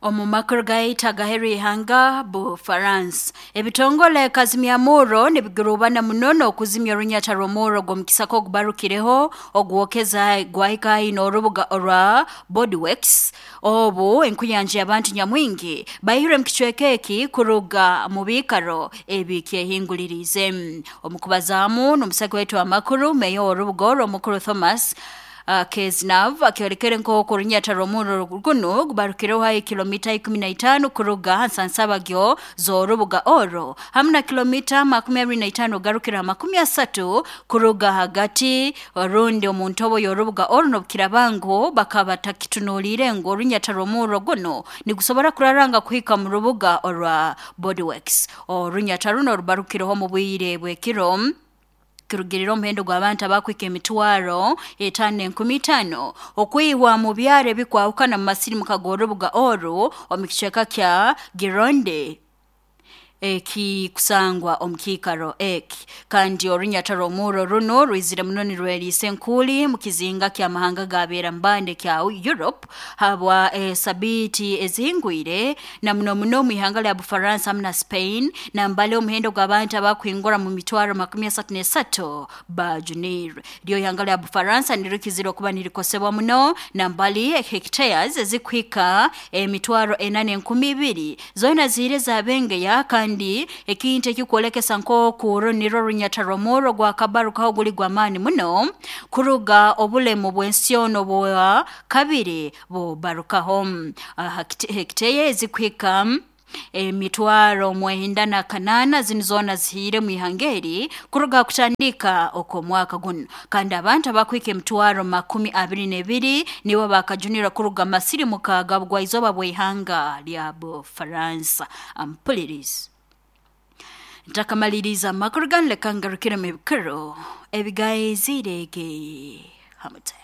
Omu makuru gaitu agaheru ihanga Bufaransa, ebitongole kazimyamurro nibigurubana muno n'okuzimya orunyata rw'omurro gw'omukisaka ogubarukireho ogwokeza gwahika haihi n'orubuga orwa Bordeaux. Obu enkuyanja y'abantu nyamwingi baihirwe mu kicweka eki kuruga mu biikaro ebikyehinguliriize. Omu kubazaamu n'omusaki waitu w'amakuru, meya w'orubuga orwo omukuru Thomas Keznav akyolekere nk'oku orunyata rw'omurro gunu gubarukireho haihi kilomita 15 kuruga ha nsansabagyo z'orubuga orwo, hamu na kilomita 25 kugarukira ha 30 kuruga hagati rundi omu ntobo y'orubuga oru, n'obukiraaba ngu bakaba batakitunuliire ngu orunyata rw'omurro gunu nigusobora kuraranga kuhika mu rubuga orwa Bordeaux. Orunyata runo rubarukireho mu bwire bw'ekiro kirugirira omuhendo gw'abantu abakwika 5,500 okwihwa mu byaro ebikwahukana mu masirimuka g'orubuga oru omu kicweka kya Gironde ekikusangwa omu kiikaro eki. Kandi orunyata rw'omurro runo rwizire muno nirweriisa enkuuli mu kizinga ky'amahanga g'abeera mbande kya Europe habwa esabiiti ezihingwire, na muno muno omu ihanga lya Bufaransa hamu na Spain, nambali omuhendo gw'abantu abakuhingura mu mitwaro 33 bajunirwe. Ryo ihanga lya Bufaransa nirikizire okuba nirikosebwa muno, nambali hectares ezikuhika 4,200 zoona ziire zabengeya, kandi ekintu ekikwolekesa nk'oku uru nirwo runyata rw'omurro gwakabarukaho guli gw'amaani muno kuruga obulemu bw'ensi yoona obwa kabiri bubarukaho. Hekiteya ezikuhika 98,000 zinu zoona zihiire mu ihanga eri kuruga ha kutandika okw'omwaka gunu, kandi abantu abakuhika 22,000 nibo bakajunirwa kuruga masirimuka ga bugwaizooba bw'ihanga lya Bufaransa. Ampulirizi, ntakamaliriza amakuru ganu, leka ngarukiremu ebikuru ebigaizirege hamute.